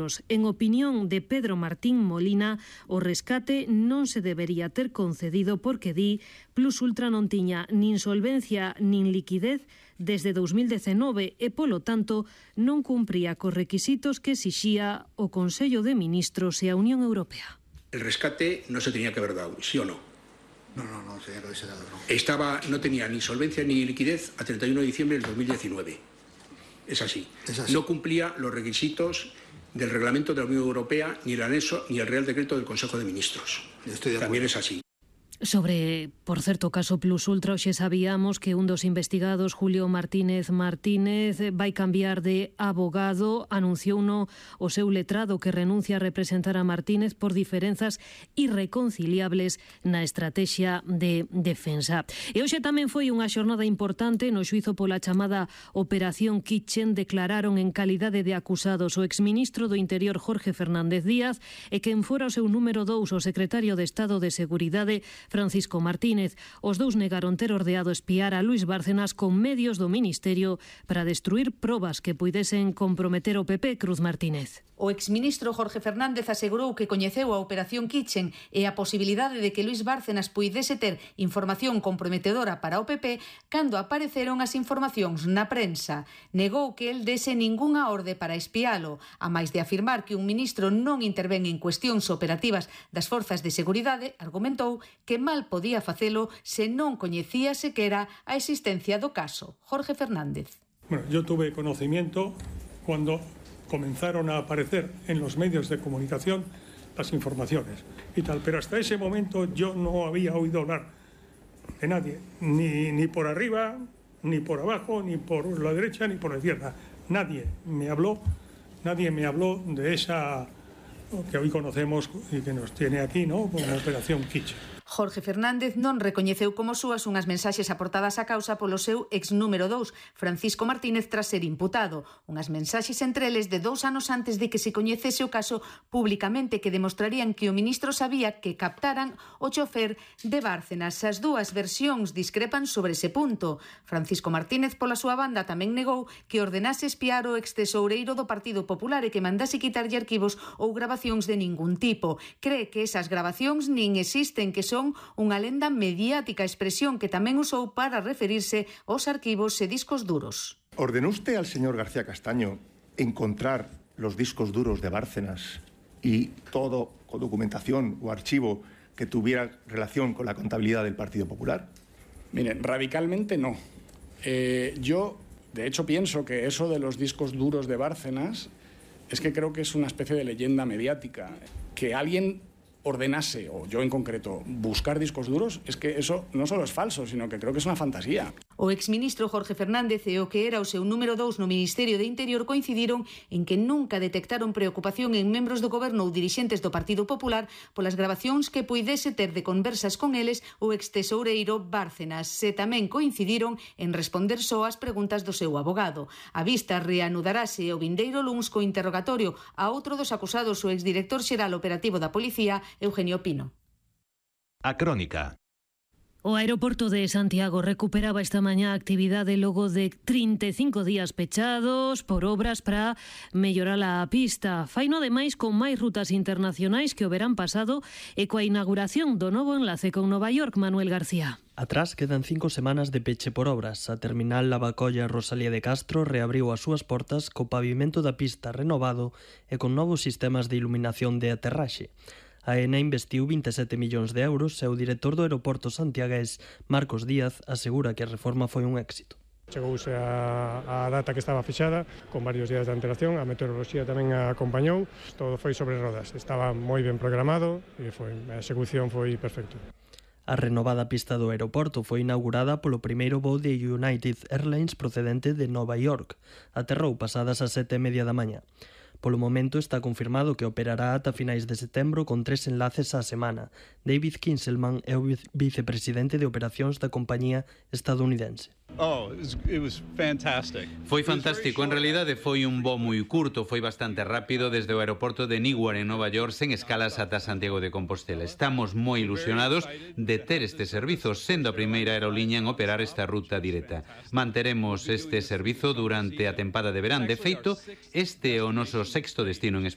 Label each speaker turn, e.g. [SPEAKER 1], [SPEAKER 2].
[SPEAKER 1] ministros. En opinión de Pedro Martín Molina, o rescate non se debería ter concedido porque di Plus Ultra non tiña nin solvencia nin liquidez desde 2019 e, polo tanto, non cumpría cos requisitos que exixía o Consello de Ministros e a Unión Europea.
[SPEAKER 2] El rescate no se tenía que haber dado, ¿sí o no?
[SPEAKER 3] No tenía que haberse dado, no.
[SPEAKER 2] No tenía ni solvencia ni liquidez a 31 de diciembre del 2019. Es así. No cumplía los requisitos del reglamento de la Unión Europea, ni el anexo, ni el Real Decreto del Consejo de Ministros. También es así.
[SPEAKER 1] Sobre, por certo, caso Plus Ultra, hoxe sabíamos que un dos investigados, Julio Martínez, vai cambiar de abogado. Anunciouno o seu letrado que renuncia a representar a Martínez por diferenzas irreconciliables na estrategia de defensa. E hoxe tamén foi unha xornada importante no xuizo pola chamada Operación Kitchen. Declararon en calidade de acusados o exministro do Interior Jorge Fernández Díaz e quen fora o seu número 2, o secretario de Estado de Seguridade Francisco Martínez. Os dous negaron ter ordeado espiar a Luís Bárcenas con medios do Ministerio para destruir probas que puidesen comprometer o PP. Cruz Martínez.
[SPEAKER 4] O exministro Jorge Fernández asegurou que coñeceu a Operación Kitchen e a posibilidade de que Luís Bárcenas puidese ter información comprometedora para o PP cando apareceron as informacións na prensa. Negou que el dese ningunha orde para espialo, a máis de afirmar que un ministro non intervén en cuestións operativas das forzas de seguridade. Argumentou que mal podía facelo se non coñecía sequera a existencia do caso. Jorge Fernández.
[SPEAKER 5] Bueno, yo tuve conocimiento cuando comenzaron a aparecer en los medios de comunicación las informaciones y tal, pero hasta ese momento yo no había oído hablar de nadie, ni por arriba, ni por abajo, ni por la derecha, ni por la izquierda. Nadie me habló de esa que hoy conocemos y que nos tiene aquí, ¿no?, como Operación Kitchen.
[SPEAKER 4] Jorge Fernández non recoñeceu como súas unhas mensaxes aportadas á causa polo seu ex número 2, Francisco Martínez, tras ser imputado. Unhas mensaxes entre eles de 2 anos antes de que se coñecese o caso públicamente que demostrarían que o ministro sabía que captaran o chofer de Bárcenas. As dúas versións discrepan sobre ese punto. Francisco Martínez, pola súa banda, tamén negou que ordenase espiar o ex-tesoureiro do Partido Popular e que mandase quitarlle arquivos ou grabacións de ningún tipo. Cree que esas grabacións nin existen, que son unha lenda mediática, expresión que tamén usou para referirse aos arquivos e discos duros.
[SPEAKER 3] ¿Ordenó usted al señor García Castaño encontrar los discos duros de Bárcenas y todo con documentación o archivo que tuviera relación con la contabilidad del Partido Popular?
[SPEAKER 6] Miren, radicalmente no. Yo, de hecho, pienso que eso de los discos duros de Bárcenas es que creo que es una especie de leyenda mediática. Que alguien ordenase, o yo en concreto, buscar discos duros, es que eso no solo es falso, sino que creo que es una fantasía.
[SPEAKER 4] O exministro Jorge Fernández e o que era o seu número 2 no Ministerio de Interior coincidiron en que nunca detectaron preocupación en membros do goberno ou dirixentes do Partido Popular polas grabacións que puidese ter de conversas con eles o ex-tesoureiro Bárcenas. Se tamén coincidiron en responder só as preguntas do seu abogado. A vista reanudarase o vindeiro luns co interrogatorio a outro dos acusados, o exdirector xeral operativo da Policía, Eugenio Pino.
[SPEAKER 7] A Crónica.
[SPEAKER 1] O aeroporto de Santiago recuperaba esta mañá a actividade logo de 35 días pechados por obras para mellorar a pista. Faino ademais con máis rutas internacionais que o verán pasado e coa inauguración do novo enlace con Nova York. Manuel García.
[SPEAKER 8] Atrás quedan 5 semanas de peche por obras. A terminal Lavacolla Rosalía de Castro reabriu as súas portas co pavimento da pista renovado e con novos sistemas de iluminación de aterraxe. A AENA investiu 27 millóns de euros e o director do aeroporto santiagués, Marcos Díaz, asegura que a reforma foi un éxito.
[SPEAKER 5] Chegouse a data que estaba fixada, con varios días de antelación, a meteoroloxía tamén a acompañou, todo foi sobre rodas, estaba moi ben programado e a execución foi perfecto.
[SPEAKER 8] A renovada pista do aeroporto foi inaugurada polo primeiro voo de United Airlines procedente de Nova York. Aterrou pasadas as 7:30 da mañá. Polo momento está confirmado que operará ata finais de setembro con 3 enlaces á semana. David Kinselman é o vicepresidente de operacións da compañía estadounidense.
[SPEAKER 9] Foi fantástico, en realidade foi un voo moi curto, foi bastante rápido desde o aeroporto de Newark en Nova York sen escalas ata Santiago de Compostela. Estamos moi ilusionados de ter este servizo, sendo a primeira aerolínea en operar esta ruta directa. Manteremos este servizo durante a tempada de verán. De feito, este é o noso sexto destino en España.